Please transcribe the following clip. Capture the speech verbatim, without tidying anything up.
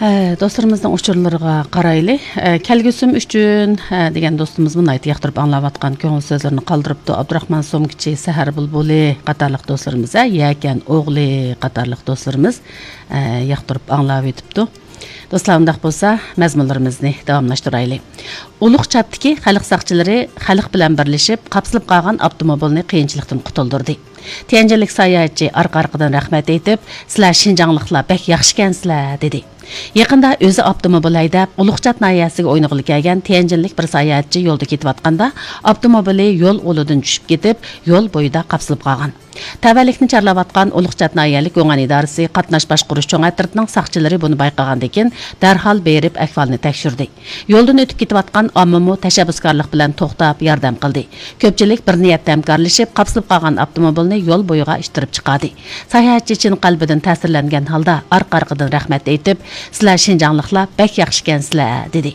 ئە، دوستلىرىمىزنىڭ ئۇچۇرلىرىغا قارايلى. ئە، كەلگۈسىم ئۈچۈن، ئە، دېگەن دوستىمىزمۇ ناھايىتى ياقتۇرۇپ ئاڭلاۋاتقان كۆڭۈل سۆزلىرىنى قالدۇرۇپتۇ. ئابدۇراخمان سومكىچى، سەھەر بۇلبۇلى قاتارلىق دوستلىرىمىز، ھە، يەكەن ئوغلى قاتارلىق دوستلىرىمىز، ئە، ياقتۇرۇپ ئاڭلاۋېتىپتۇ. دوستلار، ئۇنداق بولسا، مەزمۇنلىرىمىزنى داۋاملاشتۇرايلى. ئۇلۇغ چاتتىكى خەلق ساقچىلىرى خەلق بىلەن بىرلىشىپ، قاپسىلىپ قالغان ئاپتوموبىلنى قىيىنچىلىقتىن قۇتۇلدۇردى. تيەنجىنلىك ساياھەتچى ئارقا-ئارقىدىن رەھمەت ئېيتىپ، «سىلەر شىنجاڭلىقلار بەك ياخشىكەنسىلەر» دېدى. يېقىندا ئۆزى ئاپتوموبىل ھەيدەپ، ئۇلۇغچات ناھىيەسىگە ئوينىغىلى كەلگەن تيەنجىنلىك بىر ساياھەتچى يولدا كېتىۋاتقاندا، ئاپتوموبىلى يول ئۇلىدىن چۈشۈپ كېتىپ، يول بويىدا قاپسىلىپ قالغان. تەۋەلىكنى چارلاۋاتقان ئۇلۇغچات ناھىيەلىك گۇڭئەن ئىدارىسى قاتناش باشقۇرۇش چوڭ ئەترىتىنىڭ ساقچىلىرى بۇنى بايقىغاندىن كېيىن، دەرھال بېرىپ ئەھۋالنى تەكشۈردى. يولدىن ئۆتۈپ كېتىۋاتقان ئاممىمۇ تەشەببۇسكارلىق بىلەن توختاپ ياردەم قىلدى. كۆپچىلىك بىر نىيەتتە ھەمكارلىشىپ، قاپسىلىپ قالغان ئاپتوموبىلنى يول بويىغا ئىتتىرىپ چىقاردى. ساياھەتچى چىن قەلبىدىن تەسىرلەنگەن ھالدا ئارقا-ئارقىدىن رەھمەت ئېيتىپ، «سىلەر شىنجاڭلىقلار بەك ياخشىكەنسىلەر» دېدى.